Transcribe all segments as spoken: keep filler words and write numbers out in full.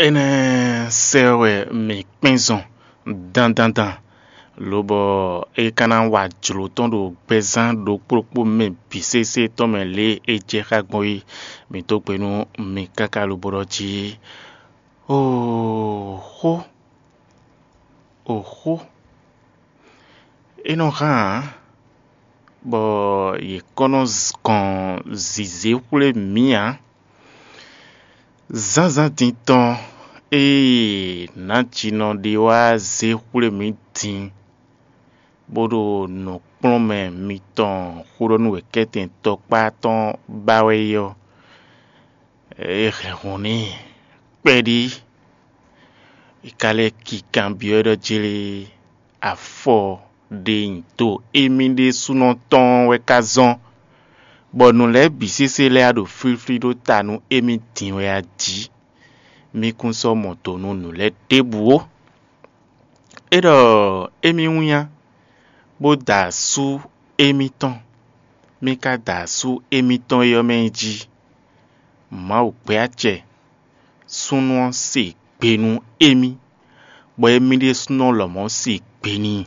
Énɛ́ sɛ́ wɛ mǐ kpɛ́n zɔn dandandan, lobɔ é ka ná wa jlǒ tɔn ɖo gbɛzán ɖokpó ɖokpó mɛ bǐ sésé tɔn mɛ lě e é jɛ xá gbɔn é. Mǐ dó gbe nú mi káká lobo ɖɔ jí: Oxó, oxó, é nɔ hán ǎ, bɔ yě kɔ́ nɔ gɔn zǐzé xwlé mǐ ǎ. Zǎnzǎn din tɔn e nǎjinɔ ɖé wá zé xwlé mǐ din, bó ɖo nǔkplɔ́nmɛ mitɔn xó ɖɔ nú wěkɛ́tɛn tɔkpá tɔn ba wɛ é ɔ́, é hɛn hǔn n'i kpɛɖí. È ka lɛ́ ki kanbyɔ́ ɖɔ jlé afɔ ɖe nyi do émí ɖésúnɔ tɔn wɛ ka zɔ́n, bɔ nǔ lɛ́ɛ bǐ sésé lɛ́ɛ ɖo flíflí ɖó ta nú émí din wɛ a jí? Mí kún sɔ́ mɔ do nú nǔ lɛ́ɛ ɖěbǔ ó. É ɖɔ émí wínnyá, bó da asú émítɔn, mí ka da asú émítɔn é ɔ́ mɛ jí. Mawu gbɛ́ acɛ súnnu ɔ́ se gbe nú émí, bɔ émí ɖésúnɔ lɔmɔ̌ se gbe n'i.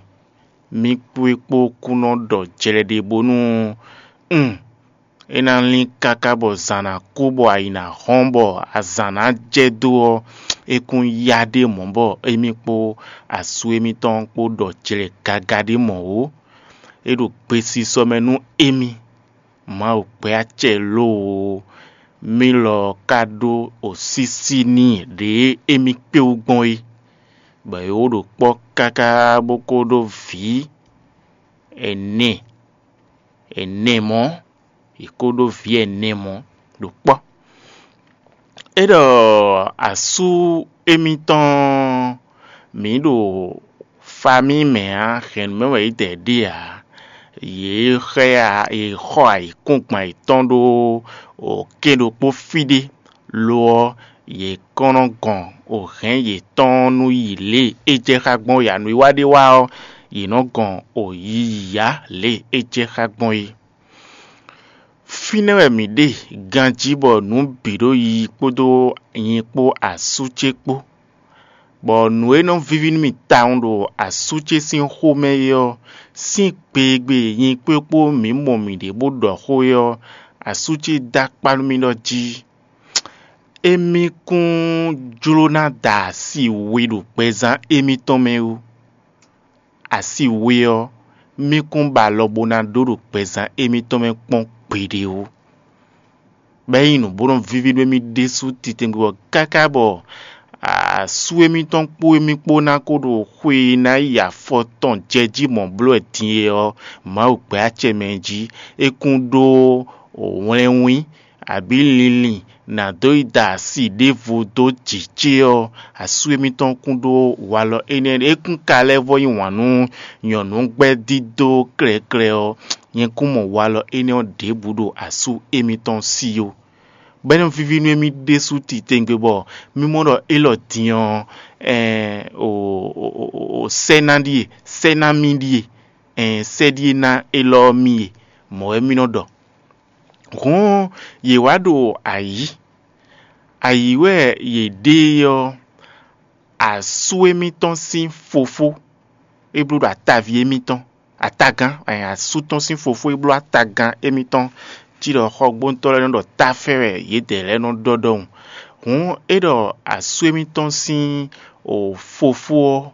Mí kpó é kpó kú nɔ ɖɔ jlɛ ɖé bónú un é ná lín káká bɔ zǎn ná kú bɔ ayǐ ná hɔ́n bɔ azǎn ná jɛ dó ɔ́, é kún yá ɖé mɔ̌ bɔ émí kpó asú émítɔn kpó ɖɔ jlɛ gaga ɖé mɔ̌ ó. É ɖo gbesisɔ mɛ nú émí. Mawu gbɛ́ acɛ lóoo, mí lɔ ka ɖó osísí n'i ɖě émí kpé wú gbɔn é, bɔ é wó ɖo kpɔ́ káká bó ko ɖó vǐ ɛnɛ, ɛnɛ mɔ̌, yě ko ɖó vǐ ɛnɛ mɔ̌ ɖo kpɔ́. É ɖɔ asú émítɔn mǐ ɖo famí mɛ ǎ, hɛ̌nnu mɛ wɛ yě dɛ ɖe ǎ. Yě xɔ ayǐkúngban yětɔn ɖó kɛ́n ɖokpó fí ɖé; lo ɔ́, yě kɔn nɔ gɔn hɛ̌n yětɔn nú yi lě e é jɛ xá gbɔn é ǎ. Nǔwiwa ɖé wá ɔ́, yě nɔ gɔn yiyi ǎ lě e é jɛ xá gbɔn é. Fínɛ́ wɛ mǐ ɖe ganjí bɔ nǔ bǐ ɖo yiyi kpódó nyi kpó asú ce kpó, bɔ nǔ e nɔ víví nú mì tawun ɖo asú ce sín xomɛ é ɔ́, sín gbe e gbe nyi kpó é kpó mǐ mɔ mǐɖée bó ɖɔ xó é ɔ́, asú ce dó akpá nú mì ɖɔ jí: Émí kún jló ná da asi we ɖo gbɛzán émítɔn mɛ ó. Asi we ɔ́, mí kún ba alɔ bó ná ɖó ɖo gbɛzán émítɔn mɛ kpɔ́n gbeɖé ó. Bɔ é nyí nǔ bó nɔ víví nú émí ɖésú titewungbe bɔ káká bɔ asú émítɔn kpó émí kpó ná kó ɖo xwe e ná yi afɔ tɔn jɛ jí mɔ̌ bló wɛ din é ɔ́, Mawu gbɛ́ acɛ mɛ jí. É kún ɖó wlɛ́nwín abǐ linlin nǎ dó yi da asi ɖěvo dó jǐ ce ɔ́, asú émítɔn kún ɖó walɔ énɛ́. É kún ka lɛ́ vɔ́ yí wǎn nú nyɔ̌nu gbɛ́ dídó klɛ́klɛ́ ɔ́, nyɛ kún mɔ walɔ énɛ́ ɔ́ ɖěbǔ ɖo asú émítɔn sí ó. Bɔ é nɔ víví nú émí ɖésú titewungbe bɔ mí mɔ ɖɔ élɔ́ din ɔ́, ɛɛn, o, o, o, o, sɛ́ ná ɖíe, sɛ́ ná mì ɖíe, ɛɛn, sɛ́ ɖíe ná élɔ́ mì e, mɔ̌ wɛ mì nɔ ɖɔ. Hǔn yě wá ɖo ayǐ. Ayǐ wɛ yě ɖe é ɔ́, asú émítɔn sín fofó é bló ɖo ataví émítɔn, atagán, ɛn, asú tɔn sín fofó é bló atagán émítɔn cí ɖɔ xɔgbóntɔ́ lɛ́ɛ nɔ ɖɔ táfɛ́ wɛ yědɛɛ lɛ́ɛ nɔ ɖɔ ɖɔhun. Hǔn é ɖɔ asú émítɔn sín o fofó ɔ́,